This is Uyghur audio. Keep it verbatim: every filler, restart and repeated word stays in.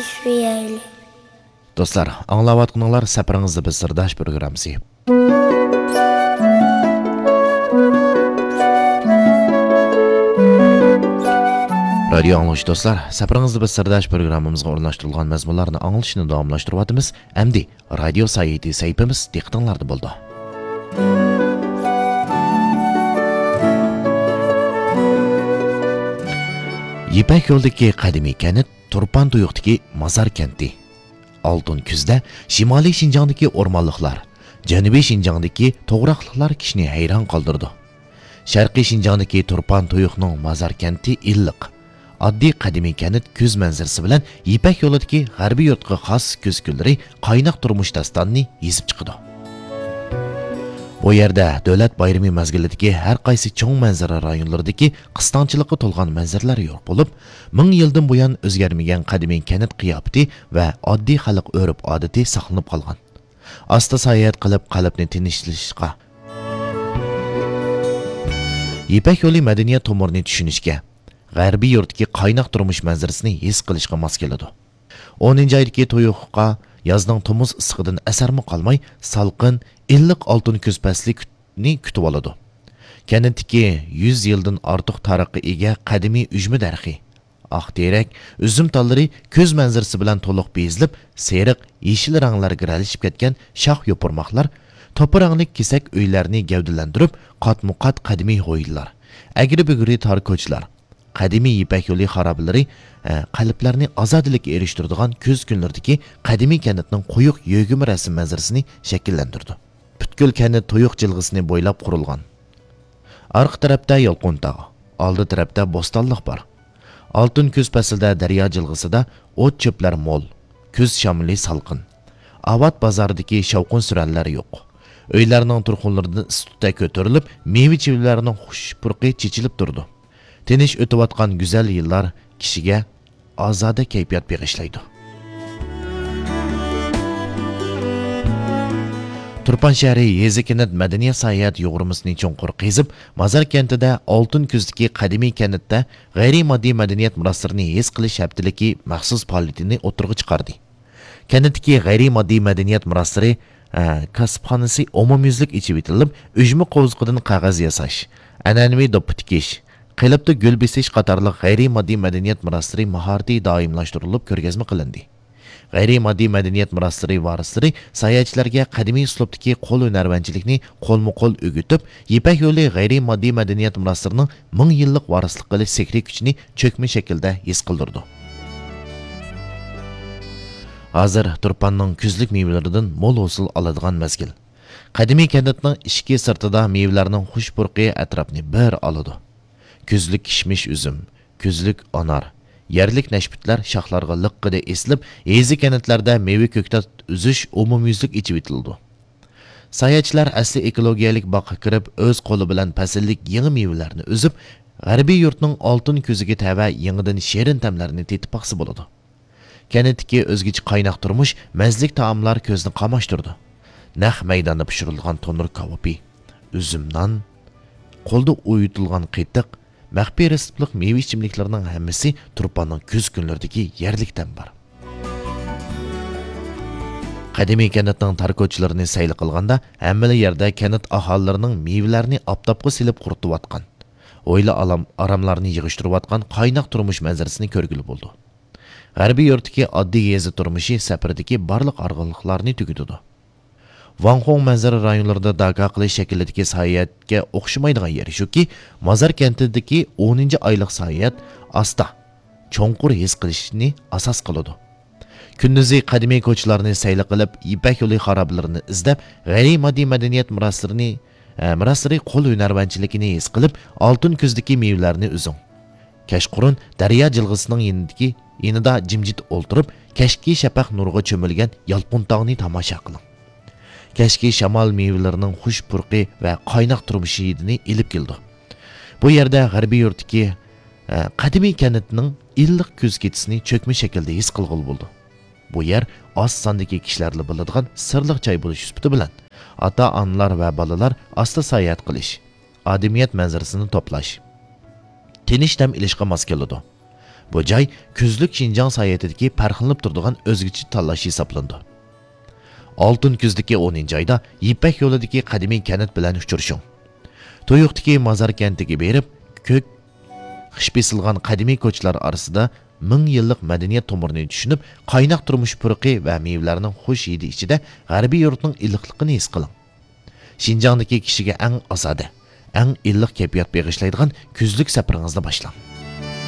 چۈشۈرەيلى. دوستلار، ئاڭلاۋاتقىنىڭلار سەپىرىڭىزدە بىز سىرداش پروگراممىسى. رادىيو ئاڭلىغۇچى دوستلار، سەپىرىڭىزدە بىز سىرداش پروگراممىمىزغا ئورۇنلاشتۇرۇلغان مەزمۇنلارنى ئاڭلىشىنى داۋاملاشتۇرۇۋاتىمىز. ئەمدى رادىيو سايىتى سەھىپىمىز دىققىتىڭلاردا بولىدۇ. يىپەك يولىدىكى قەدىمىي كەنت، تۇرپان تۇيۇقتىكى مازار كەنتى. ئالتۇن كۈزدە شىمالىي شىنجاڭدىكى ئورمانلىقلار، جەنۇبىي شىنجاڭدىكى توغراقلىقلار كىشىنى ھەيران قالدۇرىدۇ. شەرقىي شىنجاڭدىكى تۇرپان تۇيۇقنىڭ مازار كەنتى ئىللىق، ئاددىي قەدىمىي كەنت كۈز مەنزىرىسى بىلەن يىپەك يولىدىكى غەربىي يۇرتقا خاس كۈز كۈنلىرى قايناق تۇرمۇش داستانىنى يېزىپ چىقىدۇ. بۇ يەردە دۆلەت بايرىمى مەزگىلىدىكى ھەر قايسى چوڭ مەنزىرە رايونلىرىدىكى قىستاڭچىلىققا تولغان مەنزىرىلەر يوق بولۇپ، مىڭ يىلدىن بۇيان ئۆزگەرمىگەن قەدىمىي كەنت قىياپىتى ۋە ئاددىي خەلق ئۆرپ-ئادىتى ساقلىنىپ قالغان. ئاستا ساياھەت قىلىپ، قەلبنى تىنچلىتىشقا، يىپەك يولى مەدەنىيەت تومۇرىنى چۈشىنىشكە، غەربىي يۇرتتىكى قايناق تۇرمۇش مەنزىرىسىنى ھېس قىلىشقا ماس كېلىدۇ. ئونىنچى ئايدىكى تۇيۇققا يازنىڭ تومۇز ئىسسىقىدىن ئەسەرمۇ قالماي، سالقىن، ئىللىق ئالتۇن كۈز پەسلىنى كۈتۈۋالىدۇ. كەنتتىكى يۈز يىلدىن ئارتۇق تارىخقا ئىگە قەدىمىي ئۈجمە دەرىخى، ئاق تېرەك، ئۈزۈم تاللىرى كۈز مەنزىرىسى بىلەن تولۇق بېزىلىپ، سېرىق، يېشىل رەڭلەرگە رەڭلىشىپ كەتكەن شاخ يوپۇرماقلار، توپا رەڭلىك كېسەك ئۆيلەرنى گەۋدىلەندۈرۈپ، قاتمۇقات قەدىمىي ھويلىلار، ئەگرى-بۈگرى تار كوچىلار، قەدىمىي يىپەك يولى خارابىلىرى، ئە، قەلبلەرنى ئازادىلىككە ئېرىشتۈرىدىغان كۈز كۈنلىرىدىكى قەدىمىي كەنتنىڭ قويۇق يۆگىمە رەسىم مەنزىرىسىنى شەكىللەندۈرىدۇ. پۈتكۈل كەنت تۇيۇق جىلغىسىنى بويلاپ قۇرۇلغان. ئارقا تەرەپتە يالقۇن تاغ، ئالدى تەرەپتە بوستانلىق بار. ئالتۇن كۈز پەسلىدە دەريا جىلغىسىدا ئوت-چۆپلەر مول، كۈز شامىلى سالقىن. ئاۋات بازاردىكى شاۋقۇن-سۈرەنلەر يوق. ئۆيلەرنىڭ تۇرخۇنلىرىدىن ئىس تۈتەك كۆتۈرۈلۈپ، مېۋە-چىۋىلەرنىڭ خۇش پۇرىقى چېچىلىپ تۇرىدۇ. تىنچ ئۆتۈۋاتقان گۈزەل يىللار كىشىگە ئازادە كەيپىيات بېغىشلايدۇ. تۇرپان شەھىرى يېزا-كەنت مەدەنىيەت ساياھەت يۇغۇرمىسىنى چوڭقۇر قېزىپ، مازار كەنتىدە ئالتۇن كۈزدىكى قەدىمىي كەنتتە غەيرىي ماددىي مەدەنىيەت مىراسلىرىنى ھېس قىلىش ھەپتىلىكى مەخسۇس پائالىيىتىنى ئوتتۇرىغا چىقاردى. كەنتتىكى غەيرىي ماددىي مەدەنىيەت مىراسلىرى، ئە، كاسىپخانىسى ئومۇميۈزلۈك ئېچىۋېتىلىپ، ئۈجمە قوۋزۇقىدىن قەغەز ياساش، ئەنئەنىۋى دوپپا تىكىش، قېلىپتا گۈل بېسىش قاتارلىق غەيرىي ماددىي مەدەنىيەت مىراسلىرى ماھارىتى دائىملاشتۇرۇلۇپ كۆرگەزمە قىلىندى. غەيرىي ماددىي مەدەنىيەت مىراسلىرى ۋارىسلىرى ساياھەتچىلەرگە قەدىمىي ئۇسلۇبتىكى قول ھۈنەرۋەنچىلىكنى قولمۇ قول ئۆگىتىپ، يىپەك يولى غەيرىي ماددىي مەدەنىيەت مىراسلىرىنىڭ مىڭ يىللىق ۋارىسلىق قىلىش سېھرىي كۈچىنى چۆكمە شەكىلدە ھېس قىلدۇرىدۇ. ھازىر تۇرپاننىڭ كۈزلۈك مېۋىلىرىدىن مول ھوسۇل ئالىدىغان مەزگىل. قەدىمىي كەنتنىڭ ئىشىكى سىرتىدا مېۋىلەرنىڭ خۇش پۇرىقى ئەتراپنى بىر ئالىدۇ. كۈزلۈك كىشمىش ئۈزۈم، كۈزلۈك ئانار، يەرلىك نەشپۈتلەر شاخلارغا لىققىدە ئېسىلىپ، يېزا-كەنتلەردە مېۋە-كۆكتات ئۈزۈش ئومۇميۈزلۈك ئېچىۋېتىلىدۇ. ساياھەتچىلەر ئەسلى ئېكولوگىيەلىك باغقا كىرىپ، ئۆز قولى بىلەن پەسىللىك يېڭى مېۋىلەرنى ئۈزۈپ، غەربىي يۇرتنىڭ ئالتۇن كۈزىگە تەۋە يېڭىدىن شېرىن تەملەرنى تېتىپ باقسا بولىدۇ. كەنتتىكى ئۆزگىچە قايناق تۇرمۇش، مەززىلىك تائاملار كۆزنى قاماشتۇرىدۇ. نەق مەيداندا پىشۇرۇلغان تونۇر كاۋىپى، ئۈزۈم نان، قولدا ئۇيۇتۇلغان قېتىق، مەخپىي رېتسېپلىق مېۋە ئىچىملىكلىرىنىڭ ھەممىسى تۇرپاننىڭ كۈز كۈنلىرىدىكى يەرلىك تەم بار. قەدىمىي كەنتنىڭ تار كوچىلىرىنى سەيلە قىلغاندا، ھەممىلا يەردە كەنت ئاھالىلىرىنىڭ مېۋىلەرنى ئاپتاپقا سېلىپ قۇرۇتۇۋاتقان، ھويلا ئالام-، ئاراملارنى يىغىشتۇرۇۋاتقان قايناق تۇرمۇش مەنزىرىسىنى كۆرگىلى بولىدۇ. غەربىي يۇرتتىكى ئاددىي يېزا تۇرمۇشى سەپىرىدىكى بارلىق ئارغىنلىقلارنى تۈگىتىدۇ. ۋاڭخۇڭ مەنزىرە رايونلىرىدا داكا قىلىش شەكلىدىكى ساياھەتكە ئوخشىمايدىغان يېرى شۇكى، مازار كەنتىدىكى ئونىنچى ئايلىق ساياھەت ئاستا، چوڭقۇر ھېس قىلىشنى ئاساس قىلىدۇ. كۈندۈزى قەدىمىي كوچىلارنى سەيلە قىلىپ، يىپەك يولى خارابىلىرىنى ئىزدەپ، غەيرىي ماددىي مەدەنىيەت مىراسلىرىنى، ئە، مىراسلىرى قول ھۈنەرۋەنچىلىكىنى ھېس قىلىپ، ئالتۇن كۈزدىكى مېۋىلەرنى ئۈزۈڭ. كەچقۇرۇن دەريا جىلغىسىنىڭ يېنىدىكى، يېنىدا جىمجىت ئولتۇرۇپ، كەچكى شەپەق نۇرىغا چۆمۈلگەن يالقۇن تاغنى تاماشا قىلىڭ. كەچكى شامال مېۋىلىرىنىڭ خۇش پۇرىقى ۋە قايناق تۇرمۇش ھىدىنى ئېلىپ كېلىدۇ. بۇ يەردە غەربىي يۇرتتىكى، ئە، قەدىمىي كەنتنىڭ ئىللىق كۈز كېچىسىنى چۆكمە شەكىلدە ھېس قىلغىلى بولىدۇ. بۇ يەر ئاز ساندىكى كىشىلەرلا بىلىدىغان سىرلىق جاي بولۇش سۈپىتى بىلەن، ئاتا-ئانىلار ۋە بالىلار ئاستا ساياھەت قىلىش، ئادەمىيەت مەنزىرىسىنى توپلاش، تىنچ دەم ئېلىشقا ماس كېلىدۇ. بۇ جاي كۈزلۈك شىنجاڭ ساياھىتىدىكى پەرقلىنىپ تۇرىدىغان ئۆزگىچە تاللاش ھېسابلىنىدۇ. ئالتۇن كۈزدىكى ئونىنچى ئايدا يىپەك يولىدىكى قەدىمىي كەنت بىلەن ئۇچرىشىڭ. تۇيۇقتىكى مازار كەنتىگە بېرىپ، كۆك خىش بېسىلغان قەدىمىي كوچىلار ئارىسىدا مىڭ يىللىق مەدەنىيەت تومۇرىنى چۈشىنىپ، قايناق تۇرمۇش پۇرىقى ۋە مېۋىلەرنىڭ خۇش ھىدى ئىچىدە غەربىي يۇرتنىڭ ئىللىقلىقىنى ھېس قىلىڭ. شىنجاڭدىكى كىشىگە ئەڭ ئازادە، ئەڭ ئىللىق كەيپىيات بېغىشلايدىغان كۈزلۈك سەپىرىڭىزنى باشلاڭ.